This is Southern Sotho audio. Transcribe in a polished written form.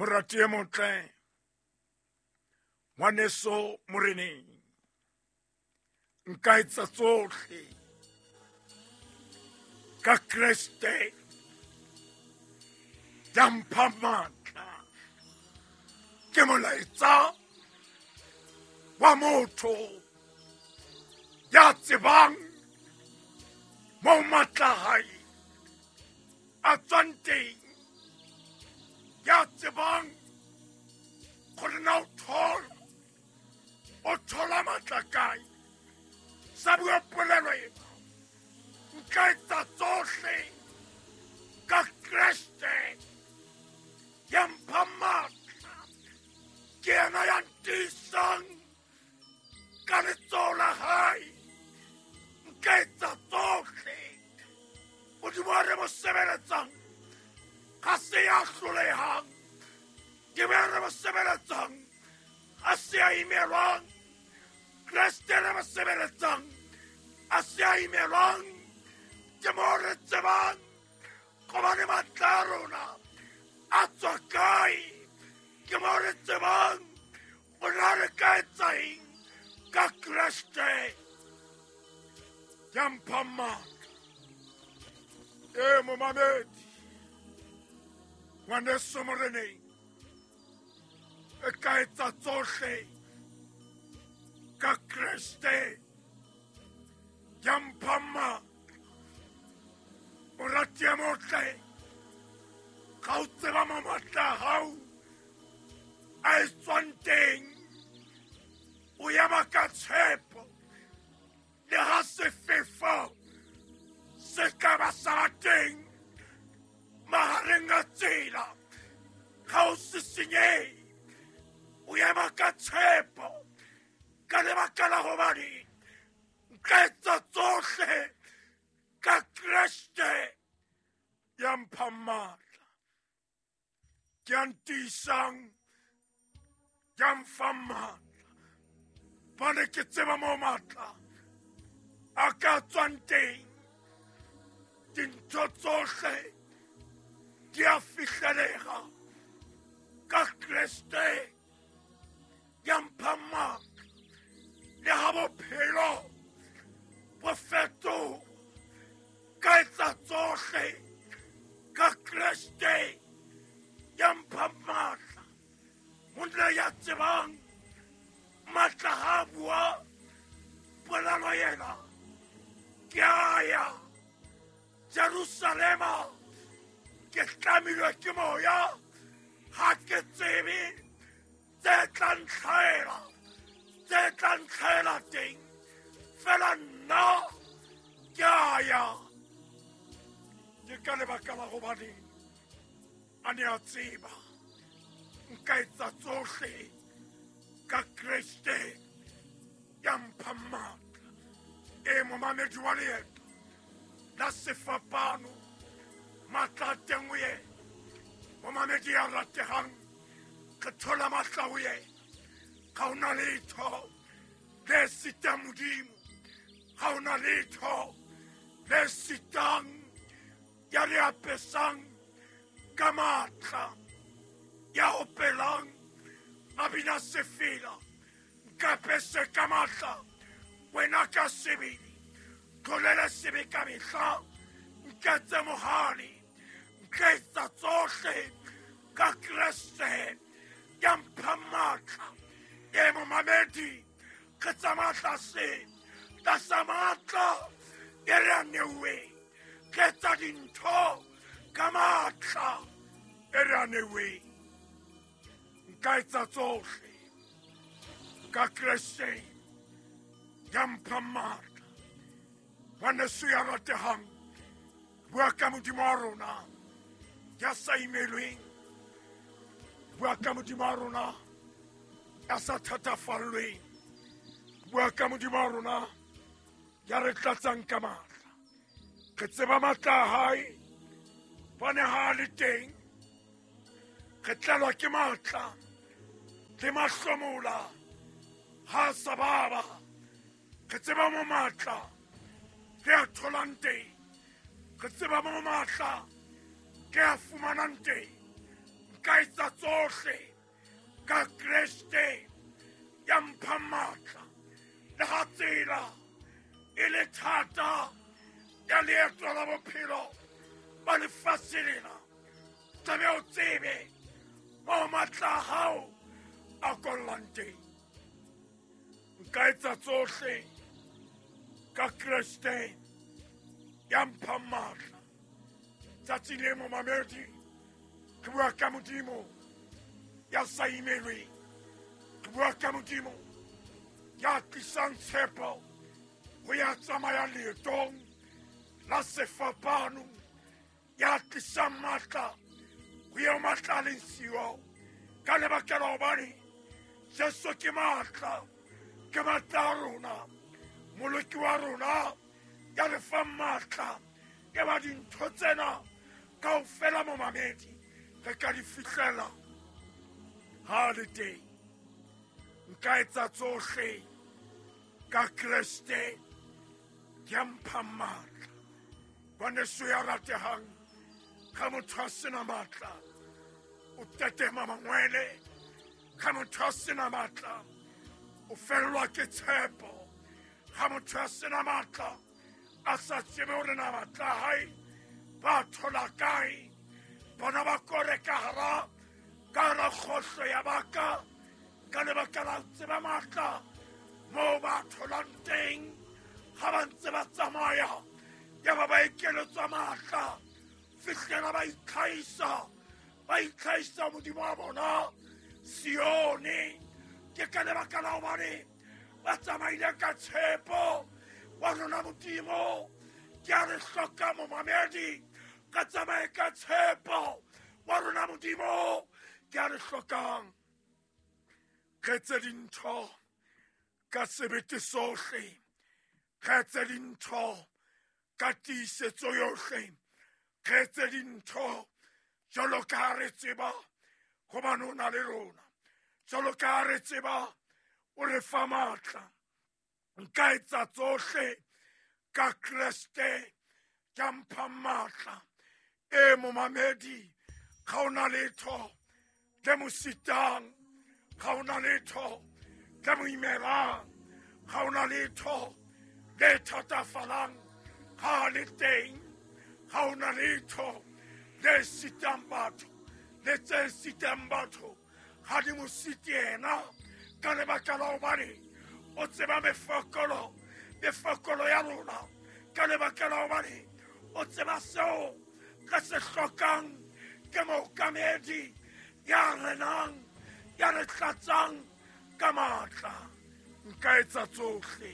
Morati e motle, ngwaneso moreneng, nka etsa tsohle ka Kreste ya mpha matla. Ke molaetsa wa motho ya tsebang mo matla hae a tswang teng, ya tsebang gore na o thola o thola matla kae. Sa bua polelo ena, nka etsa tsohle ka Kreste ya mpha matla. Ke yena ya ntiisang ka letsoho la hae. Nka etsa tsohle. Modimo a re mo sebeletsang ga se ya hlolehang, ke be re mo sebeletsang a se a imelwang. Kreste re mo sebeletsang a se a imelwang. Ke mo re tsebang gobane matla a rona a tswa kae. Ke mo re tsebang gona re ka etsa eng ka Kreste ya mpha matla. E momamedi ngwaneso moreneng, e ka etsa tsohle ka Kreste ya mpha matla. Morati e motle, ga o tseba mo matla a hao a e tswang teng, o ema ka tshepo le ha sefefo se ka ba sa ba teng mahareng a tsela, ga o se senyehe. O ema ka tshepo ka lebaka la hobane nka etsa tsohle ka Kreste ya mpha matla. Ke a ntiisang, ya mfang matla. Bane ke tseba mo matla a ka tswang teng. Dintho tsohle di a fihlelega ka Kreste ya mpha matla. Le ha bophelo bo fetoha, ka etsa tsohle ka Kreste ya mpha matla. Monna ya tsebang matla ha bua polelo yena, ke a ya Jerusalema, ke tlamilwe ke moya, ha ke tsebe tse tla ntlhaela, tse tla ntlhaela teng, fela nna ke a ya. Ke ka lebaka la gobane a ne a tseba nka etsa tsohle ka Kreste ya mpha matla. E momamedi wa leeto la sefapano, matla a teng ho yena. Momamedi ya rategang, re thola matla ho yena. Ga ona letho le sitang Modimo, ga ona letho le sitang ya re apesang ka matla, ya opelang a bina sefela. Nkapese ka matla wena ka sebele, tlolele sebe ka mehla, nketse mohale, nka etsa tsohle ka Kreste ya mpha matla. E momamedi, re tsamaya tlase tlasa matla e re a neuweng. Re etsa dintho ka matla e re a neuweng. Nka etsa tsohle ka Kreste ya mpha matla. Ngwaneso ya ratehang, bua ka Modimo wa rona ya sa imelweng, bua ka Modimo wa rona ya sa thatafallweng, bua ka Modimo wa rona ya re tlatsang ka matla. Re tseba matla a hae, bane ha a le teng re tlelwa ke matla le mahlomola ha a sa baba. Re tseba mo matla re a tholang teng, re tseba mo matla ke a fumanang teng. Nka etsa tsohle ka Kreste ya mphang matla. Le ha tsela e le thata ya leeto la bophelo ba lefatshe lena, tlabe o tsebe moo matla a hao a kollang teng. Nka etsa tsohle ka Kreste ya mphang matla. Tsatsi le momamedi, ke bua ka Modimo ya sa imelweng, ke bua ka Modimo ya tlisang tshepo ho ya tsamaya leetong la sefapano, ya tlisang matla ho eo matla a leng siyo. Ka lebaka la hobane Jesu ke matla, ke matla a rona, Moloki wa rona ya re fang matla. E ba dintho tsena kaofela momamedi re ka di fihlela ha le teng. Nka etsa tsohle ka Kreste ya mphang matla. Ngwaneso ya ratehang, ga motho a sena matla o tetema mangwele, ga motho a sena matla o fellwa ke tshepo, ga motho a sena matla a sa tsebe hore na matla a hae ba thola kae. Bona ba kore ka hara kgohlo ya baka ka lebaka la tseba matla moo ba tholang teng. Ga ba ntse ba tsamaya ya ba ba ekeletswa matla, fihlela ba itlhahisa, ba itlhahisa Modimo wa bona Sione. Ke ka lebaka la hobane ba tsamaile ka tshepo wa rona Modimo. Ke a re hloka momamedi, ka tsamaye ka tshepo wa rona Modimo. Ke a re hlokang re etse dintho ka sebete sohle, re etse dintho ka tiisetso yohle, re etse dintho jwalo ka ha re tseba hobane o na le rona, jwalo ka ha re tseba o re fa matla. Nka etsa tsohle ka Kreste ya mphang matla. E momamedi, ga ona letho le mo sitang, ga ona letho le mo imelang, ga ona letho le thatafalang ha le teng, ga ona letho le sitang batho, le tse sitang batho ga di mo site yena, ka lebaka la hobane o tseba mefokolo, mefokolo ya rona, ka lebaka la hobane o tseba seo re se hlokang. Ke mookamedi ya renang, ya re tlatsang ka matla. Nka etsa tsohle